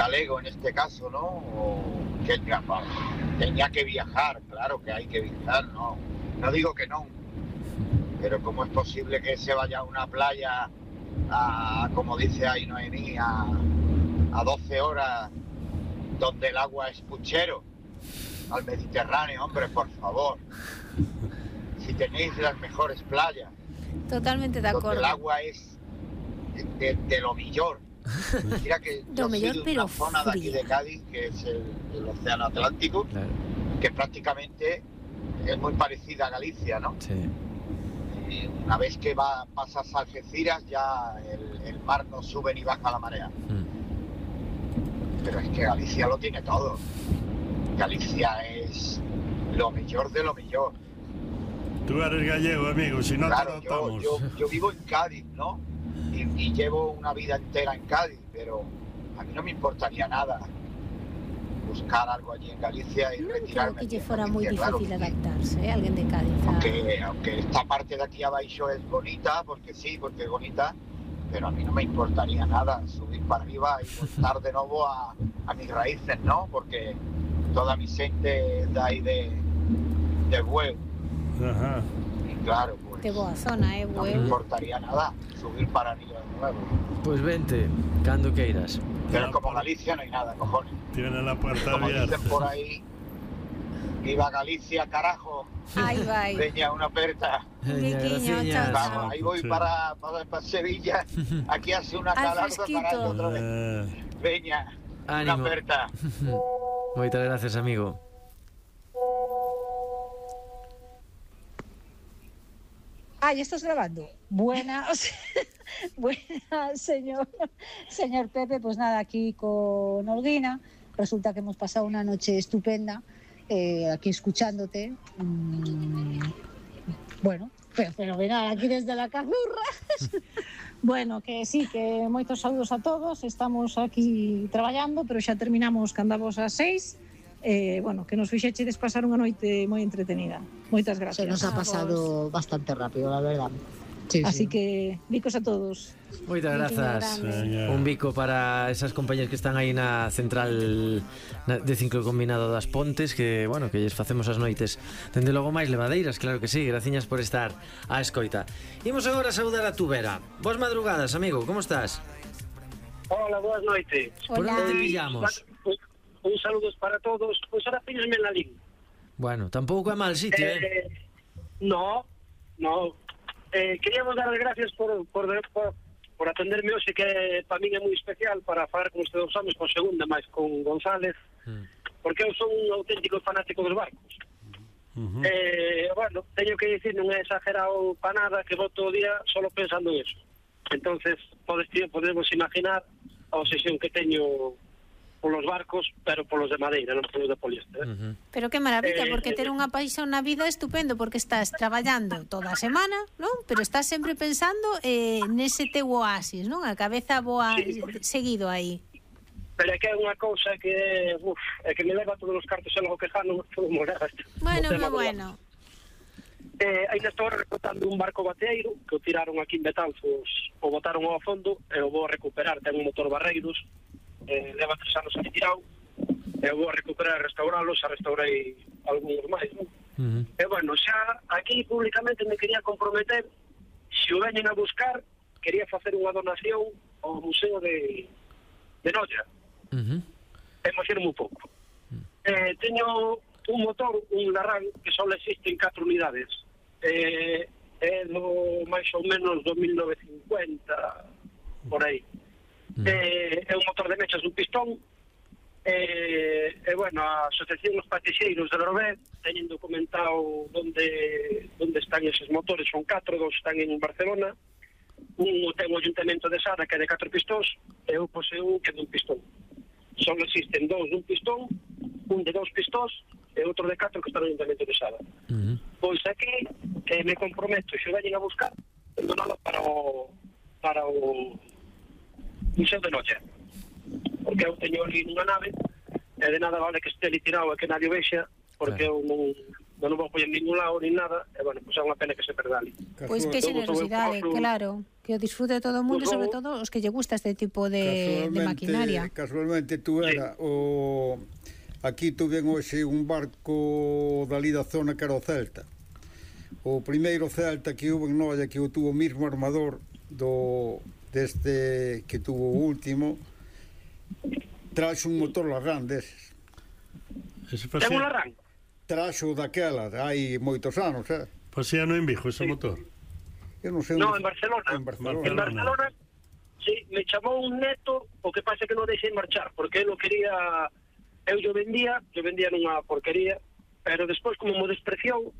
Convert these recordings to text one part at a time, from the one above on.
galego en este caso, ¿no? O que tenía que viajar, claro que hay que viajar, no digo que no, pero ¿cómo es posible que se vaya a una playa como dice ahí Noemí, a 12 horas donde el agua es puchero, al Mediterráneo? Hombre, por favor, si tenéis las mejores playas, totalmente de acuerdo, donde el agua es de lo mejor. Mira que yo soy de una zona de aquí de Cádiz, que es el Océano Atlántico, claro, que prácticamente es muy parecida a Galicia, ¿no? Sí. Una vez que pasas a Algeciras, ya el mar no sube ni baja la marea. Pero es que Galicia lo tiene todo. Galicia es lo mejor de lo mejor. Tú eres gallego, amigo, si no claro, te notamos. Yo vivo en Cádiz, ¿no? Y llevo una vida entera en Cádiz, pero a mí no me importaría nada buscar algo allí en Galicia y retirarme. Creo que fuera muy difícil adaptarse, alguien de Cádiz. Aunque esta parte de aquí abajo es bonita, porque es bonita, pero a mí no me importaría nada subir para arriba y voltar de nuevo a mis raíces, ¿no? Porque toda mi gente es de ahí de Bueu. Ajá. Y claro, pues de boa zona, no me importaría nada subir para arriba de nuevo. Pues vente, cando queiras. Pero como Galicia no hay nada, cojones. Tiene la puerta como abierta. Dicen por ahí, viva Galicia, carajo. Ahí va. Veña, una aperta. Vamos, ahí voy para Sevilla. Aquí hace una calada para otra vez. Veña, una aperta. Moitas gracias, amigo. Ah, ¿ya estás grabando? Buenas, señor Pepe. Pues nada, aquí con Olguina. Resulta que hemos pasado una noche estupenda aquí escuchándote. Bueno, fenomenal, aquí desde la Cazurra. Bueno, que sí, que moitos saludos a todos. Estamos aquí traballando, pero xa terminamos que andamos ás 6. Bueno, que nos fixechedes pasar unha noite moi entretenida. Moitas gracias. Se nos ha pasado bastante rápido, la verdad. Sí, así que, bicos a todos. Moitas grazas. Un bico para esas compañías que están aí na central de ciclo combinado das Pontes, que, bueno, que lles facemos as noites dende logo máis levadeiras, claro que sí. Graciñas por estar á escoita. Imos agora a saudar a Tubera. Boas madrugadas, amigo, como estás? Hola, boas noites. Por onde pillamos? Un saludos para todos. Pois ahora píllame en la línea. Bueno, tampouco é mal sitio, No. Queríamos dar as gracias por atenderme hoxe, que para min é moi especial, para falar con ustedes anos con segunda, máis con González, porque eu son un auténtico fanático dos barcos. Bueno, teño que dicir, non é exagerado para nada, que vou todo o día solo pensando en eso. Entonces, podemos imaginar a obsesión que teño polos barcos, pero polos de madeira, non polos de poliéster. Pero que maravilla, porque ter unha paixón na vida é estupendo, porque estás traballando toda a semana, non? Pero estás sempre pensando nese teu oasis, non? A cabeza boa seguido aí. Pero é que é unha cousa que é que me leva todos os cartos e logo que jano todo morar. Bueno. Ainda estou recortando un barco bateeiro que o tiraron aquí en Betanzos, o botaron ao fondo e o vou recuperar. Ten un motor Barreiros, leva 3 anos aquí tirado, e vou a recuperar e restauralos. A restaurei algúns máis, non? E bueno, xa aquí públicamente me quería comprometer, se o veñen a buscar, quería facer unha donación ao Museo de Noia. Emociono un pouco. Teño un motor, un Larran, que só existe en 4 unidades. É do máis ou menos 1950, por aí. É un motor de mechas dun pistón. Bueno, a Asociación dos Patixeiros de Lorobé teñen documentado onde están eses motores. Son 4, 2 están en Barcelona. Un ten o Ayuntamento de Sada, que é de 4 pistóns, e eu poseo un que é dun pistón. Só existen 2 dun pistón, un de 2 pistóns e outro de 4 que está no Ayuntamento de Sada. Pois aquí me comprometo, se o veñen a buscar, donalo para o Museo de Noia, porque eu teño ali nunha nave e de nada vale que este ali tirado e que nadie vexa, porque eu non vou poñer en ningún lado ni nada, e bueno, pois é unha pena que se perda ali. Pois que generosidade, claro, que o disfrute todo o mundo, sobre todo os que lle gusta este tipo de maquinaria. Casualmente tú era o... Aquí tuven hoxe un barco dali da zona que era o Celta. O primeiro Celta que hubo en Noia, que o tuvo o mismo armador deste que tuvo o último, traxe un motor Larrán deses. Ten un Larrán? Traxo daquela, hai moitos anos, Pasía no en Vigo ese motor? Eu non sei no, onde... en Barcelona. En Barcelona, sí, me chamou un neto, o que pasa que non deixei marchar, porque ele quería... Eu vendía nunha porquería, pero despois como me despreciou,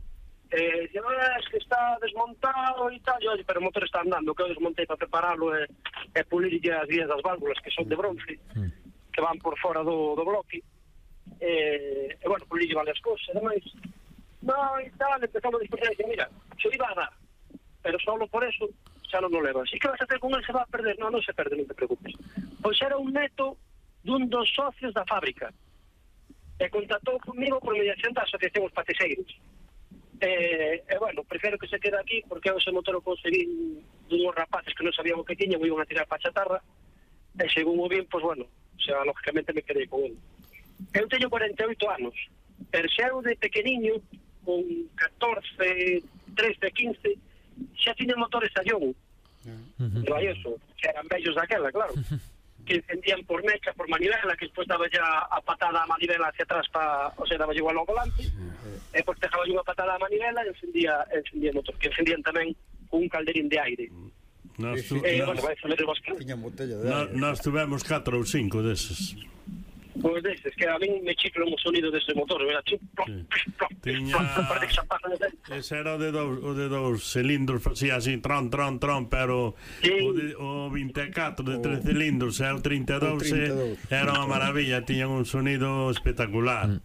es que está desmontado e tal, pero o motor está andando, que eu desmontei para prepararlo e pulirlle as guías das válvulas, que son de bronce, que van por fora do bloque, e bueno, pulirlle varias cosas, ademais, e tal, empezamos a despreciar, e mira, se iba a dar, pero solo por eso xa non o levas. E que vas a hacer con él? Se va a perder? Non se perde, non te preocupes. Pois era un neto dun dos socios da fábrica, e contactou comigo por mediación da Asociación Os Patexeiros. E bueno, prefiro que se quede aquí, porque ese motor o conseguí dunhos rapaces que non sabían o que tiñan, o iban a tirar para a chatarra, e según o bien, pois bueno, xa lógicamente me quedei con ele. Eu teño 48 anos, pero xa eu de pequeniño, con 14, 13, 15, xa tiña motores Sallón, de Valleso, que eran bellos daquela, claro, que encendían por mecha, por manivela, que despois daba ya a patada a manivela hacia atrás, o sea, daba igual ao volante, e depois dejaba unha patada a manivela e encendía o motor, que encendían tamén un calderín de aire. Nós tuvemos 4 ou 5 deses. Pois deses, que a min me chifla un sonido dese motor, era chip, ese era o de dous cilindros, facía así, tron, pero o 24 de 3 cilindros e o 32 era unha maravilla, tiñan un sonido espectacular.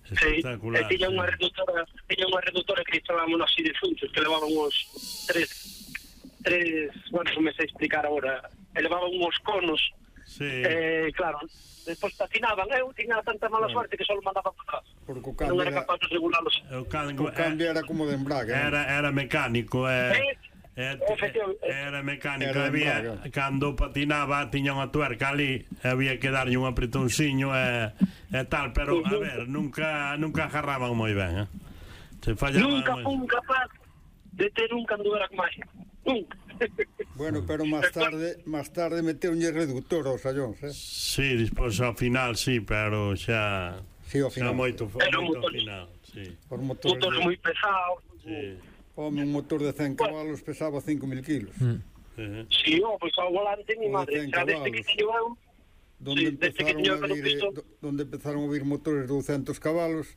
Espectacular. Tiña unha reductora que instalábamos así de funchos, que levaban uns 3, bueno, non me sei explicar agora, levaban uns conos, claro, despois patinaban, eu tiña tanta mala suerte que só mandaba para atrás, non era capaz de regularlos. O cambio era como de embrague, era mecánico, era mecánico, había, cando patinaba tiña unha tuerca ali, había que darlle un apretonciño e tal, pero a ver, nunca agarraban moi ben, nunca fun capaz de ter un cando era máis, nunca. Bueno, pero máis tarde meteuñe reductor aos Sallóns, Sí, despois ao final, sí, pero xa moito ao final, sí. Os motores moi pesados. Home, un motor de 100 cabalos pesaba 5.000 kilos. Sí, pois ao volante ni madre, xa desde que teño eu, donde empezaron a vir motores de 200 cabalos,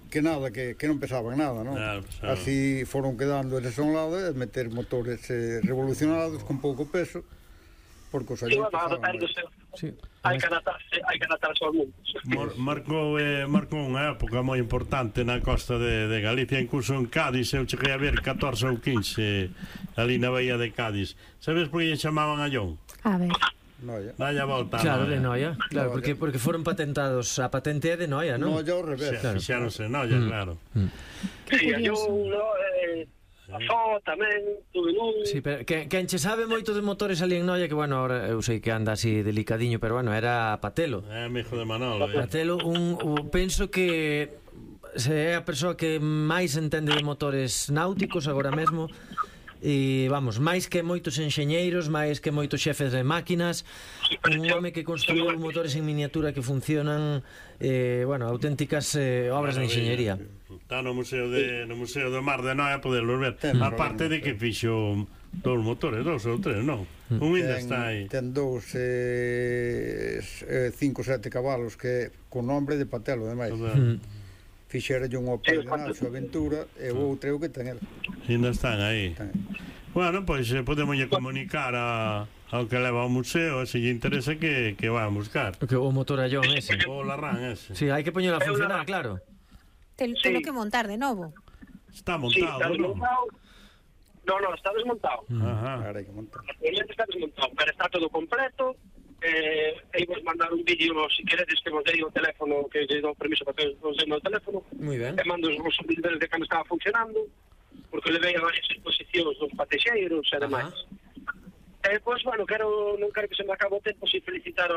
que nada, que non pesaban nada, non? Así foron quedando eles a un lado e meter motores revolucionados con pouco peso, porque os Sallóns pesaban. Hai que adaptarse ao mundo. Marcou unha época moi importante na costa de Galicia, incluso en Cádiz eu cheguei a ver 14 ou 15 ali na bahía de Cádiz. Sabes por que lle chamaban a John? A ver. Noia. Dalla volta. Claro, de Noia. Claro, porque foron patentados, a patente é de Noia, non? Noia ao revés. Fixáronse Noia, claro. Sí, yo a Fo tamén, tuve un... Sí, pero quen che sabe moito de motores ali en Noia, que bueno, ahora eu sei que anda así delicadiño, pero bueno, era Patelo. Amigo de Manolo. Patelo, penso que é a persoa que máis entende de motores náuticos agora mesmo. E vamos, máis que moitos enxeñeiros, máis que moitos xefes de máquinas, un home que construiu motores en miniatura que funcionan, bueno, auténticas obras de enxeñería. Está no Museo do Mar de Noia a poderlo ver, aparte de que fixo dous motores, 2 ou 3, non? Un ainda está aí. Ten 5 ou 7 cabalos que con nombre de Patelo, ademais. Fixera un Opel Nacho Aventura e o outro que ten el. Ainda están aí. Bueno, pois podemos comunicar ao que leva ao museo, se lle interesa que va a buscar. O motor Allón ese. O Larrán ese. Sí, hai que poñelo a funcionar, claro. Telo que montar de novo. Está montado, non? No, está desmontado. Ahora hai que montar. Está desmontado, pero está todo completo. aí vos mandar un vídeo, se queredes que vos dei o teléfono, que lle dou permiso para que vos dei o teléfono. Muy ben. E mando os vídeos de cando estaba funcionando, porque levei a varias exposicións dos patexeiros e demais. Pois, bueno, non quero que se me acabe o tempo sin felicitar